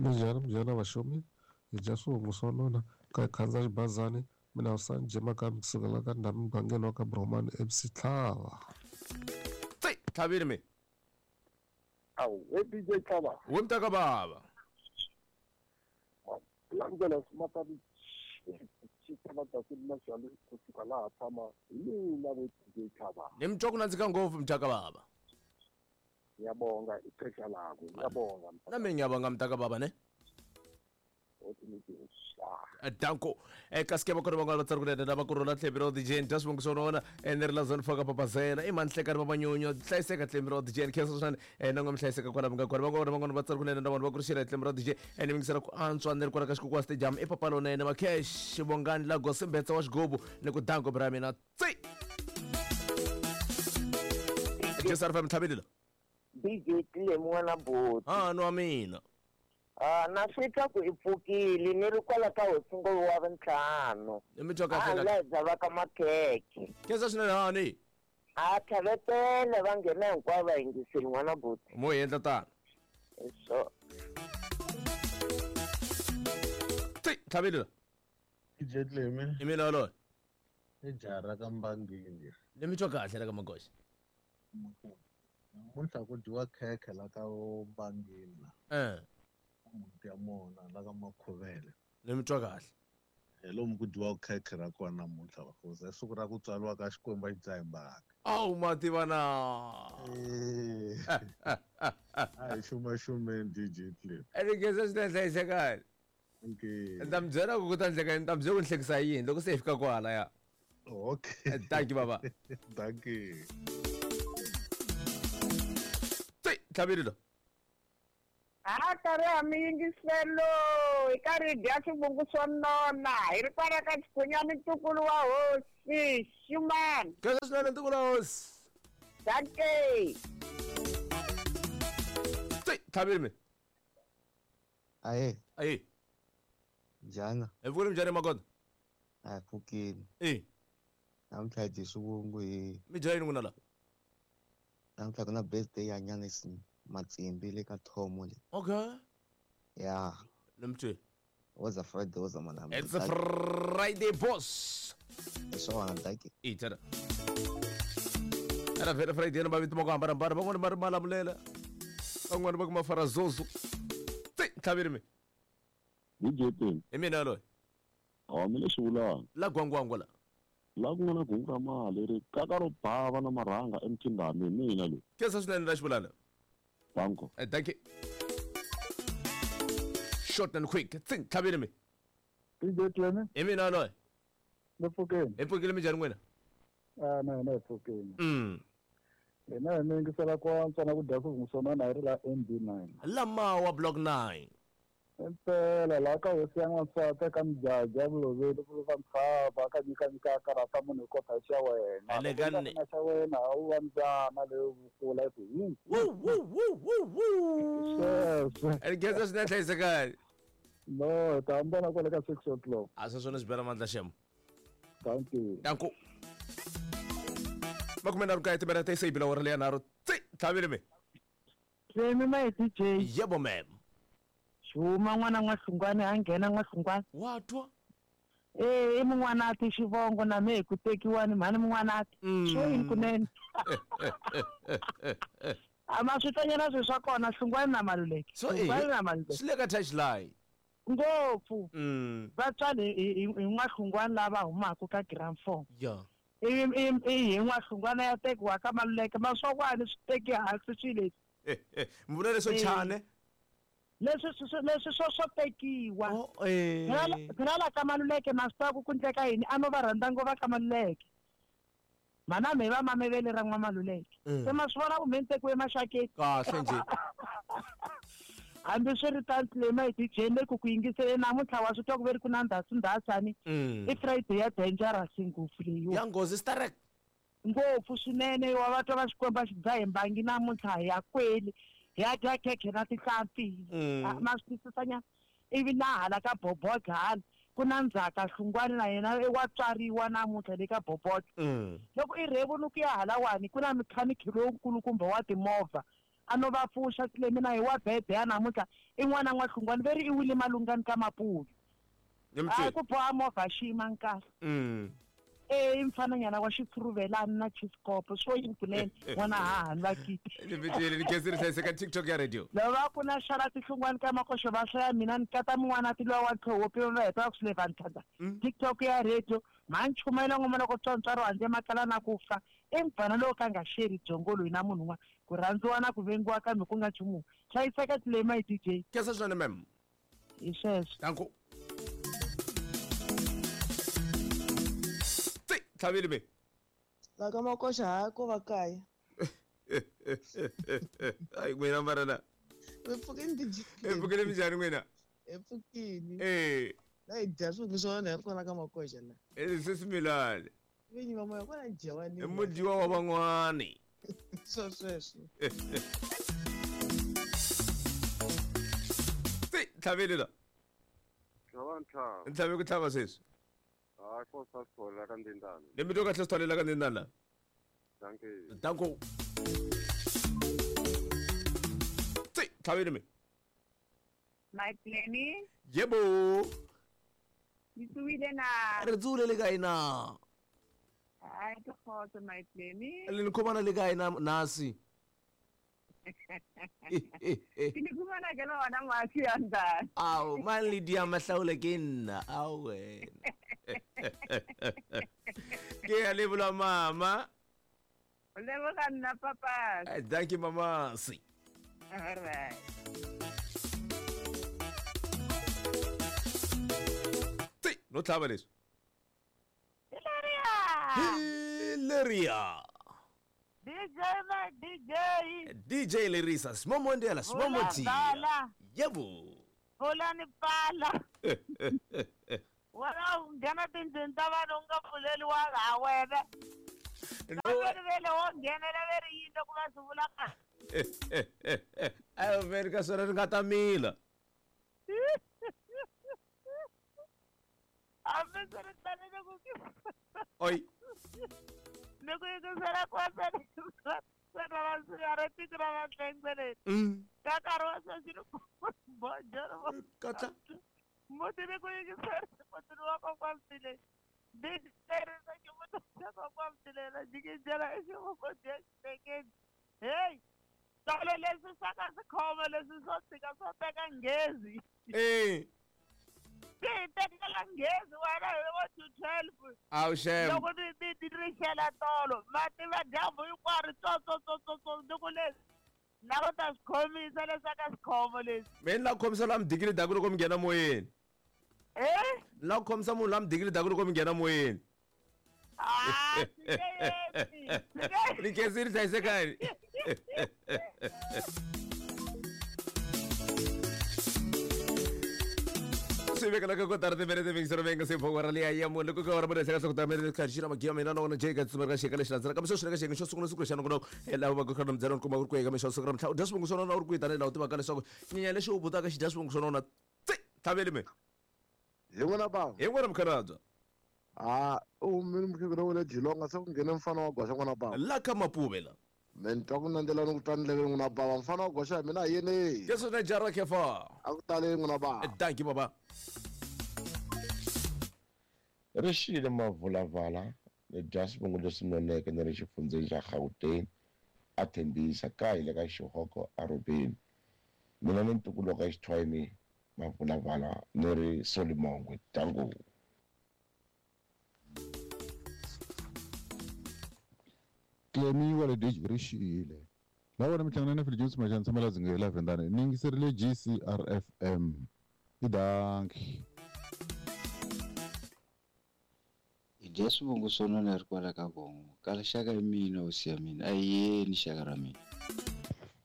Minjhani minjhani vaxomi hi dya swivongo swa nona ka hi khandziya xibazani mina Husani Jemaka mi kusukela ka ndhawu mugangeni wa ka Bromani MC Tlhava. Tsi tlhavile mi. Awu we DJ Tlhava. We mtaka baba. Landzela swimatani xi kusuka laha tshama hi mina we DJ Tlhava. Ni mi twa ku nandzika ngopfu mtaka baba. Ngiyabonga ixesha lakho ngiyabonga. Na mina ngiyabonga mtaka baba ne. Danko eka sikema kona van'wana va tsari kunene lava ku rhula tlhembi ro DJ dya swivongo swa vona ni ri la zone four ka papazela i mani hlekani vamanyunyu hlayiseka tlhembi ro DJ ni khensa swinene na n'we mi hlayiseka kwala mi nga kona van'wana van'wana va tsari kunene na vanhu va ku ri xela hi tlhembi ro DJ ni mingisela ku antswa ni ri kwala ka xikukuwa stadium i papa lonene makhesh vongani la gosimbetsa wa xigubu ni ku danko bra mina tsi Jesar fm tlhavelila DJ Tlemu n'wana buti. Ha nwa mina. Ah, na swi twa ku i pfukile ni ri kwala ka hosi ngolo wa vuntlhanu. Ni mi twa kahle Ah, la hi dzavaka makhekhe. Khensa swinene hani. A tlhavetele va nghena hinkwavo va yingiseli n'wana buti. Mo hi endla tano. Hi swona. Tsi tlhavelila. DJ Tlemi. I mina yoloye. I jaha ra ka Mbangini. Ni mi twa kahle ra ka Magoxa. Namuntlha ku dyiwa khekhe la ka Mbangini la. Muti ya mona la ka Makhuvele. Ni mi twa kahle. Hi lomu ku dyiwa khekhe ra kona namuntlha vahosi. I siku ra ku tswariwa ka Xikwembu a xi dzahi mbangi. Awu ma tiva na. A hi xumaxumeni DJ Tlemi. Ni khensa swinene hlayisekani. Okay. Ni ta mi byela ku ku ta ndleka ni ta mi byela ku ni hlekisa yini loko se hi fika kwalaya. Okay. Thank you baba. Thank you. Tsi tlhavile lo. Ha karhi ha mi yingiselo hi karhi hi dya swivungu swo nona hi ri kwala ka xikhunyani ntukulu wa hosi Xumani. Khensa swinene ntukulu wa hosi. Dankie. Tsi tlhavile mi. Ahe. Ahe. Njhani? Hi pfukile minjhani Magoda? A hi pfukile. E. Namuntlha hi dye swivungu hi. Mi dya yini n'wina la? Namuntlha ku na birthday ya Nyanisi Matsimbi le ka Thomo le. Okay. Ya. Ni mi twile. Woza Friday woza manami. It's a Friday boss. Hi swona dankie. E tana. Era vhele Friday na mavito ma ku hambanahambana van'wani va ri Malamulele van'wani va ku Mafarazozo. Tsi tlhavile mi. DJ Tim. Hi mina yaloye. Hawa mi le xivulana. La gwangwangwa la. La ku nga na gungu ra mali ri kaka ro bava na marhanga emthindani hi mina loyi. Khensa swinene la xivulana. Danko. Thank you. Short and quick. Tsi tlhavile mi. DJ Clement. Hi mina yaloye. Ni pfukeni. Hi pfukile minjhani n'wina? Ah, na hina hi pfukeni. Hina hi mi yingisela ku antswa na ku dya swivungu swo nona hi ri la NB9. Lamawa block 9. Impela laha ka hosi ya n'wansati eka mijaja vuloveli vuluva ntshava ka nyikanyika karhata munhu hi kota xa wena. Ene ka Loko ni- na xa wena a wu va mbyana leyo vukula yi ku hu. Wu wu wu wu wu. Sweswo. Ene khensa swinene hlayisekani. No, hi ta hambana kwale ka 6 o'clock. A sweswo ni swi bela mandla xem. Thank you. Danko. Makume nharhu kaye timinete se yi bile awara leya nharhu. Tsi tlhavile mi. Clemi my DJ. Yebo ma'am. Xuma n'wana n'wahlungwane a nghena n'wahlungwane. Wa twa? Eh, i mun'wanati xivongo na mehe ku tekiwani mhani mun'wanati. Swo yini kunene? A ma swi tlanyana swilo swa kona Hlungwani na Maluleke. So Hlungwani na Maluleke. swi le ka touchline. Ngopfu. Vatswari hi n'wahlungwani lava humaka ka grade 4. Ya. Ivi i hi n'wahlungwana ya tekiwa ka Maluleke maswokwani swi teki hansi swilo leswi. Mi vula leswo chane? Leswi leswi swo swo tekiwa. Eh. Phela la ka Maluleke ma swi tiva ku ku endleka yini a no va rhandza ngo va ka Maluleke. Mhana me va mamevele ra n'wa Maluleke. Se ma swi vona ku me ni tekiwe maxakeni. Kahle nje. Hambi swi ri tano Clemi hi DJ le ku ku yingiseleni namuntlha wa swi twa ku ve ri ku na ndhasindhasani. I Friday ya dangerous ngopfu leyiwa. Ya nghozi sterek. Ngopfu swinene wa va twa va Xikwembu a xi dzahe mbangi namuntlha hi ya kweli hi ya dya khekhe na tinhlampfi. Ma swi twisisa nyana? Ivi na hala ka Bobodla hala ku na ndzhaka Hlungwani na yena wa tswariwa namuntlha le ka Bobodla. Loko i rhevuni ku ya halawani ku na mechanic lowukulukumba wa timovha. A no va pfuxa Clemi na hi wa bebe ya namuntlha i n'wana n'wahlungwani ve ri i wile malungani ka mapuyu. A ku boha movha xiyima nkahle. E mfananyana wa xitshuruvelani na chiskopo swo yini kunene n'wana hahani va kiti. Ni khensile hlayiseka TikTok ya radio. Lava ku na xala tihlungwani ka makoxo va hlaya mina ni kata mun'wana ti lowa wa tlhowopi va heta va ku swi leva ntlhantlha. TikTok ya radio mha nchumayela ngoma loko tswantswaro handle makala na ku fa i mfana lowu ka nga xeri byongo loyi na munhu un'wana ku rhandziwa na ku vengiwa kambe ku nga nchumu. Hlayiseka Clemi hi DJ. Khensa swinene ma'am. Hi sweswo. Danko. Tlhavile me. La ka makoxa ha ko va kaya. Ai n'wina mara na. Hi pfukini DJ. Hi pfukile minjhani n'wina? Hi pfukini. Eh. Na hi dya swilo swa wena hi ri kwala ka makoxa la. Eh sesi Milani. Vinyi va moya kwala dyiwani. I mudyiwa wa van'wani. Swo sweswo. Tsi tlhavile la. Tlhava ntlhava. Ntlhave ku tlhava sweswi. Hayi ko sa sithola ka Ndindana. Ni mi twa kahle sitholela ka Ndindana. Dankie. Danko. Tsi tlhavile me. My Clemi. Yebo. Ni tsuwile na. Re tsule le kae na? Hayi ke kgotso my Clemi. Le ni khomana le kae na nasi? Ke ni khumana ke le hona mafi a ntate. Ao, man le dia mahlaule ke nna. Ao wena. Ke a lebola mama. O leboga nna papa. Thank you mama. Si. All right. Tsi, no tlhava leswi. Hilaria. DJ my DJ. DJ Lerisa, Smomondela, Smomoti. Yebo. Hola ni pala. Wena u nghena tindlwini ta vanhu u nga pfuleliwanga ha wena. Veri vele wo nghenela ve ri yini loko va swi vula kahle. Ayo veri ka swona ri nga ta mila. Hambi swi ri tano loko ki. Oi. Ni ku yingisela kwasana ra vatlengweleni. Ka nkarhi wa sweswi ni bojoro. Katla. Muti ni ku yingisela mutini wa kokwamtileni. Ndzi ximuti xa kokwamtileni jikijela i xivoko dya xitekeni. Hey, tolo leswi swa ka swikhoma leswi swo tshika swo teka nghezi. Eh. Ti hi tekela nghezi wena hi vo 2:12. Awu xem. Loko ni ri xela tolo mati va dyambu hinkwaro tsotsotsotso ni ku leswi na ku ta swi khomisa leswi ka swikhomo leswi. Me ni la ku khomisa la midikili daku loko mi nghena moyeni. Eh? Ni la ku khomisa munhu la midikili daku loko mi nghena moyeni. Ah, Ni khensile hlayisekani. Swi vekela ka kotara timinete mingisero venga se phongwa ra liya ya munhu loko ka wara munhu hleka hloko ta minete kha xira magiya mina na wona jay ka tsumela ka xeka lexi landzelaka kambe sweswi le ka xiyenge xo sungula siku lexi nongonoko laha va ka mbyela kuma ku ri ku eka mixo siku ra mtlha u dya swivungu swo nona u ri ku tanihi laha u tivaka leswaku nyenya lexi u butaka xi dya swivungu swo nona tsi tlhaveli me Hi n'wina bava. Hi n'wina mukhalabye. Ah, u humile mukhegula wa le Jilonga se ku nghene mfana wa goxa n'wana bava. La ka Mapuve la. Me ni twa ku nandzela ni ku twa ndleveni n'wina bava mfana wa goxa hi mina hi yini. Yesu na jara kefa. A ku taleni n'wina bava. Thank you baba. Ri xile mavulavala ni dya swivungu leswi noneke ni ri xifundzeni xa Gauteng a Tembisa ka hi le ka Xihoko arobeni. Mina ni ntukulu wa ka Xithwayini mavulavala ni ri Solimongwe dango. Clemi wa le DJ ri xile. La wena mi hlangana na Phil Jones Machana tshama la Dzingela Vendane. Ni yingiserile GCRFM. I danki. Hi dya swivungu swo nona ri kwala ka Vongo. Kala xaka hi mina hosi ya mina. A hi yeni xaka ra mina.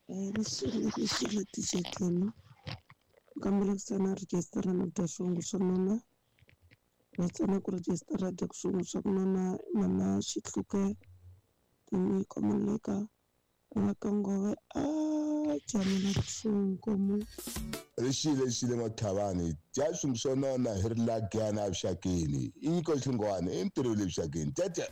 Ri xile DJ Clemi. Kambela ku sana register na ku dya swivungu swo nona. Va tsana ku register dya swivungu swa ku nona mama Xihluke. Tinyiko Moleka va ka Ngove a jamela swinkomo. Ri xile N'wathavani dya swivungu swo nona hi ri lagana evuxakeni i nyiko Hlungwane i ntirho le vuxakeni tete.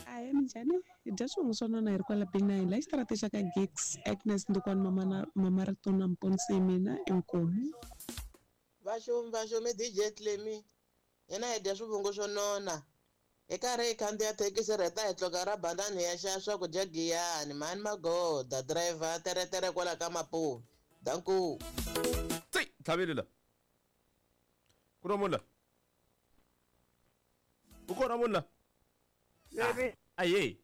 A hi Minjhani? Hi dya swivongo swa nona hi ri kwala B9 la xitarateni xa ka Gigs Agnes Ndukwani Mamana Mama Ritona Mponisi hi mina inkomu. Vaxumi vaxumi DJ Clemy hina hi dya swivungu swo nona hi karhi hi khandziya thekisi rheta hi tluka ra bandani hi ya xava swakudya giyani mhani magoda driver teretere kwala ka mapuve danku Tsi, tlhaveli la. Ku na munhu la? U kona munhu la? Levi. Aye.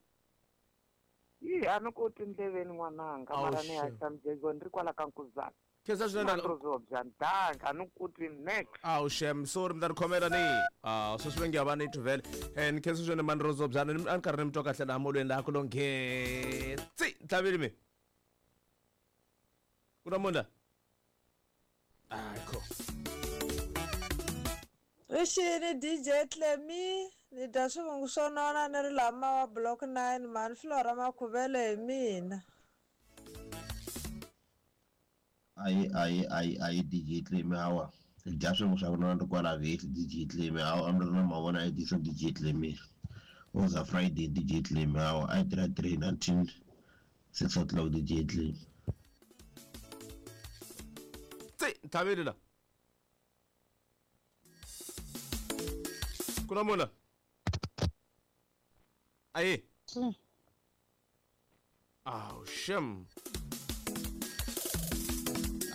Yi a ni ku tindleveni n'wananga Awu, mara ni sure. haxa mujeko ni ri kwala ka nkuzana. Khensa swinene. Mandrozo bya ndanga a ni ku twi next. Awu shem, sorry mi ta ni khomela ni. Ah, sweswi va nge va ni tuvele. Eh, ni khensa swinene Mandrozo byana ni a ni karhi ni mi twa kahle laha molweni laha ku lo nghee. Tsi, tlhaveli mi. Ku na munhu la? Hayi kho. Rixini DJ Clemy ni dya swivungu swo nona ni ri laha Mawa block 9 mhani Flora Makhuvele hi mina. Ayi ayi ayi ayi DJ Clemy hawa hi dya swin'we swa ku nona kwala vhesi DJ Clemy hawa a mi ri na mavona Edison DJ Clemy was a Friday DJ Clemy hawa a yi tirha 3 until 6 o'clock DJ Clemy. Tsi, tlhaveli la. Ku na munhu la? Aye. Awu shem.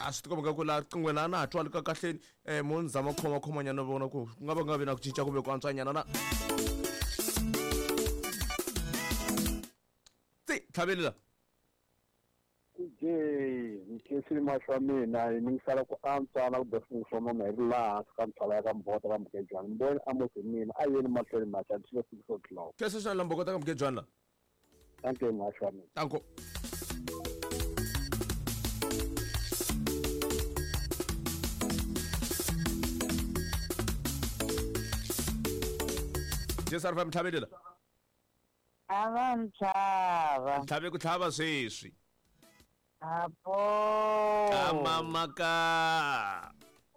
A swi tikomba ku laha riqinghweni a na ha twali ka kahleni mo ni zama ku khomakhomanyana vona ku ku nga va ku nga vi na ku cinca kumbe ku antswanyana na. Tsi, tlhaveli la. DJ ni khensile mahlo ya mina hi ni sala ku antswa na ku dya swivungu swa nona hi ri laha hansi ka ntshava ya ka Mbota ka Mugejwana ni vone Amos hi mina a yeni mahlweni maxa ni 6 o'clock. Khensa swinene la Mbokota ka Mugejwana la. Thank you mahlo ya mina. Tanko. Jesar fa mtlhaveli la. A va ntlhava. Ntlhave ku tlhava sweswi. Apo. Kamamaka.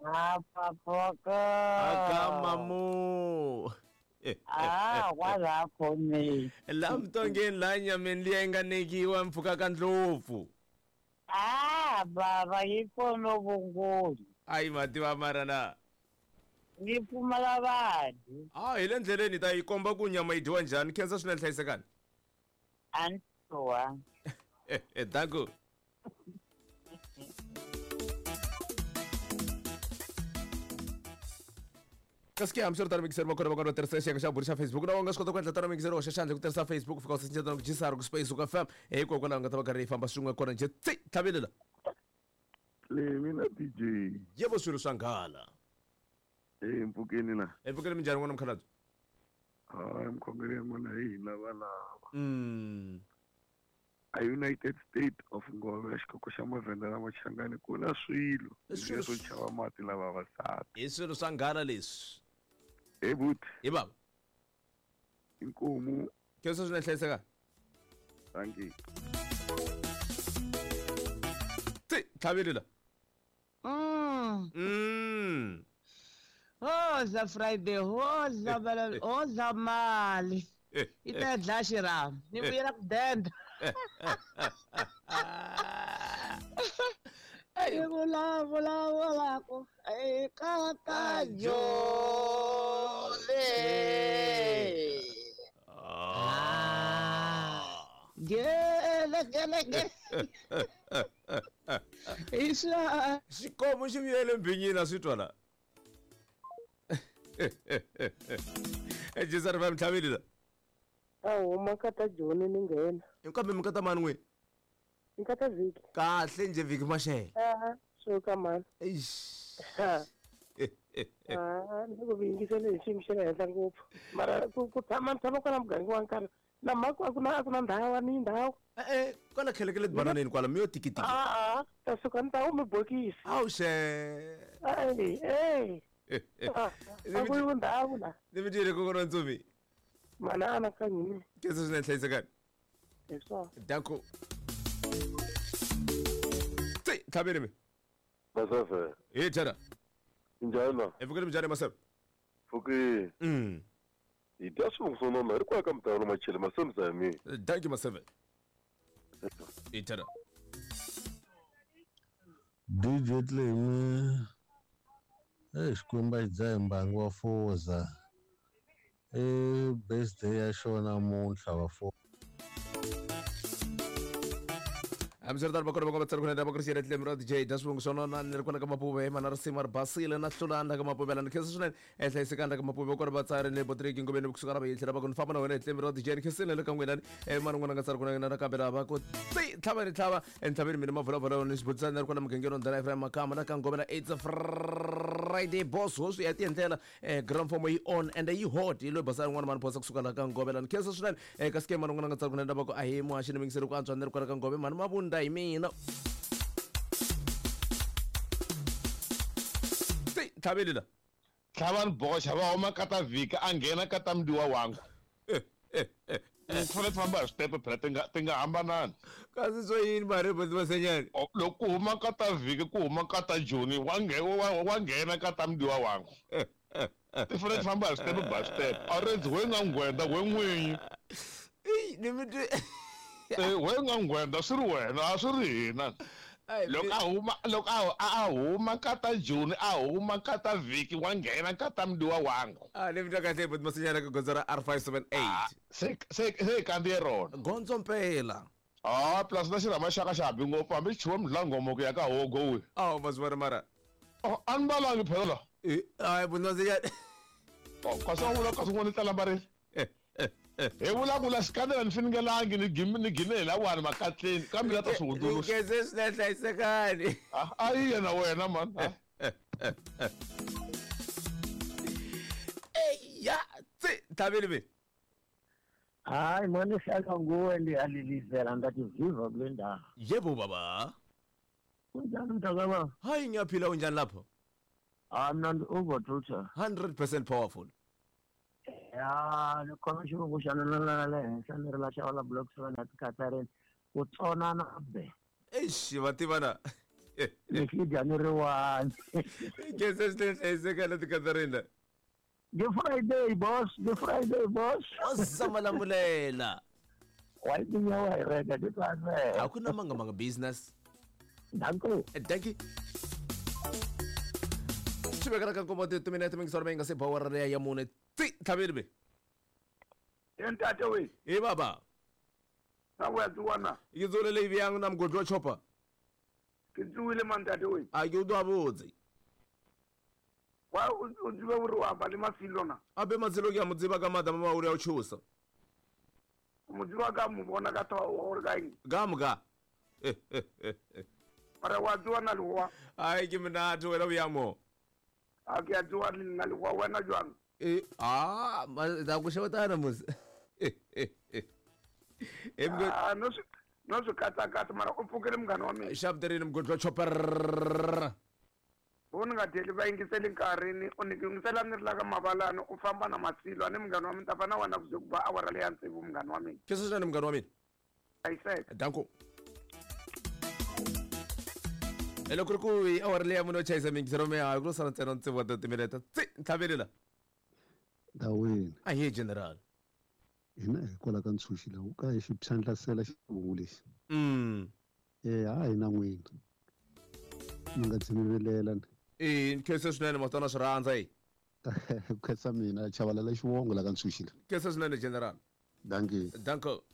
Apapoka. Akamamu. Ah, kwala khome. La mtongeni la nyameni liya yi nga nekiwa mpfhuka ka ndlopfu. Ah, baba yi kona vungoni. Ayi mativa mara na. Yi pfumala vanhu. Ah, hi le ndleleni hi ta yi komba ku nyama yi dyiwa njhani. Khensa swinene hlayisekani. Antoa. Danko. Kasi ke hambiswiritano mixer va kona va kona va tirhisa xiyenge xa buri xa Facebook na u nga swi kota ku endla tano mixer hoxa xandla ku tirhisa Facebook fika u search ku GCR ku space ku FM hikokwalaho nga ta va karhi yi famba swin'we kona njhe tsi tlhaveli la. Clemy na DJ. Yebo swilo swa nghala. Mpfukeni na. Mpfukeni minjhani n'wana mukhalabye? Hayi mkhongeri ya n'wana hi hina valava. A United States of Ngove xikoko xa mavhenda na machangani ku na swilo Swilo leswo chava mati lava vavasati. Hi swilo swa nghala leswi. Hey buti. Hi baba. Inkomu. Khensa swinene hlayiseka. Thank you. Tsi, tlhaveli la. Hoza Friday, hoza bala, hoza mali. I ta dlaya xirhami ni vuyela ku denda. Hi vulavulaka eka ta jole. Gele gele gele. Isha. Xikomu xi vuyele mbhinyini a swi twa la. Jesar va mtlhaveli la. A huma ka ta Joni ni nghena. Kambe mi ka ta mani n'we? Ni ka ta Vhiki. Kahle njhe Vhiki Mashele. Ah, swo ka mani. Eish. Ah, ni ku yingisele hi xiyimo xa le henhla ngopfu. Mara ku tshama ni tshama kwala muganga wa nkarhi na mhaka a ku na ndhawu ni ndhawu. Kwala khelekele tibananeni kwala mi yo tikitiki. A ta suka ni ta humi bokisi. Awu xe. Ey, ey. A ku yiwi ndhawu la. Ni mi dyile kokwana Ntsumi. Mana anakanyini. Khensa swinene hlayisekani. Hi swona. Danko. Tsi, tlhaveli mi. Masese. Hi tshara. Njhani? Mpfukeni minjhani Maseve? Pfukini. Hi dya swivungu swo nona hi ri kwala ka mutawelo machele masemza ya mina. Thank you Maseve. Itara. DJ Clemi Xikwembu a xi dzahi mbangi wa foza i birthday ya xona namuntlha va foza. Hambiswiritano va kona va tsari kunene va ku ri tlemi ra DJ dya swivongo swa nona ni ri kwala ka mapuve mana risimu ri basile na hlulana ka mapuve la ni khensa swinene ehlayisekani ka mapuve kona vatsari ni botriki ngomeni kusuka ra vayihlela va ku ni famba na wena hi tlemi ra DJ ni khensile le ka n'wina mani n'wana nga tsari kunene nakambe lava ku ti tlhava ni tlhava entlhaveni mina mavulavula ni xibutisana ni ri kwala mugangeni wa ndlela Ephraim Makamba na ka Ngomela it's a Friday boss hosi ya tiendlela grand form yi on and yi hot yi loyi basana n'wana mani phosa kusuka la ka Ngomela ni khensa swinene kasi ke mani n'wana nga tsari kunene va ku a hi muhaxi ni mingiseri ku antswa ni ri kwala ka Ngome mani mavunda hi mina ti tlhaveli la tlhavani boxa va huma ka ta vhiki a nghena ka ta mdiwa wangu ti fanele ti famba hi switepe phela ti nga hambanani kasi swo yini mari masenyani loko ku huma ka ta vhiki ku huma ka ta joni wa nghena ka ta mdiwa wangu ti fanele ti famba hi switepe by step a rendzi we nga nghwenda we n'winyi we nga nghwenda swi ri wena a swi ri hina loko a huma ka ta joni a huma ka ta vhiki wa nghena ka ta mdiwa wangu ni mi twa kahle buti Masinyana ka gondzo ra R578 se hi kandziye rona gondzo mpela plus na xirhama xa ka xa habi ngopfu hambi xi chuwe mdlangomo ku ya ka hogo we ma swi vona mara a ni valangi phela la hayi buti Masinyana kasi wa vula kasi n'wana tala mbarile hi vulavula xikandela ni finingelangi ni gime hi lawani makatleni kambe la ta swi hundzuluxa khense swinene hlayisekani a yi yena wena mani eya tsi tlhaveli ve hayi mani hlala nguwe ndiyalilizela ndathi viva kule ndawo. Yebo baba. Kunjani mntakababa? Hayi ngiyaphila unjani lapho? Hayi mna ndi-overtutor. 100% powerful. Ya ni khoma xivongo xa nonana le henhla ni ri la xava la block 7 ya tikatsarini ku tsonana be. Eish va tivana. Ni xi dya ni ri one. Khense swinene hlayisekani tikatsarini. Good Friday, boss. Good Friday, boss. Osamalambulela. Wa tinya wa hi reka ti twa Hakuna manga manga business. Danko. Thank you. Swi vekela ka nkombo timinete mingisoro leyi nga se bawara leya ya mune ti tlhaveli be. Ntate we. Hi baba. Na wa tsuwana. Yi dzule leyi viyang na mugodi wa chopa. Ke tsuwile man ntate we. A ke utwa botse. Wa o tsebe hore wa ba le mafilo na. Abe matselo ke a mo tseba ka mata mama o re a o tshosa. Mo tseba ka mo bona ka twa hore ka eng. Ka mo ka. Mara wa tsuwana le wa. Ai ke monate wena o ya mo. A ke a tsoa le nna le wa wena jwang? Da ku xewetana mos. No swi katsakatsa mara u pfukile munghana wa mina. Xavuterini mugodi wa chopper. Vo ni nga dyeli va yingiseli nkarhi ni u ni yingisela ni ri la ka mavalani u famba na masilo a ni munghana wa mina ta fa na wena ku ze ku ba awara leya tsevu munghana wa mina. Khensa swinene munghana wa mina. Hlayiseka. Danko. Loko ri ku hi awara leya munhu yo chayisa mingiselo mehayo ku lo sala ntsena tsevu wa timinete tsi ntlhaveli la. Ndawini. Ahee general. Hina hi kwala ka ntshunxi laha ka hi xi phyandlasela xivongo lexi. Ha hina n'wina. Mi nga dzimivelela ni. Khensa swinene masitana swi rhandza yi. Khensa mina chavalala xivongo la ka ntshunxi la. Khensa swinene general. Dankie. Danko.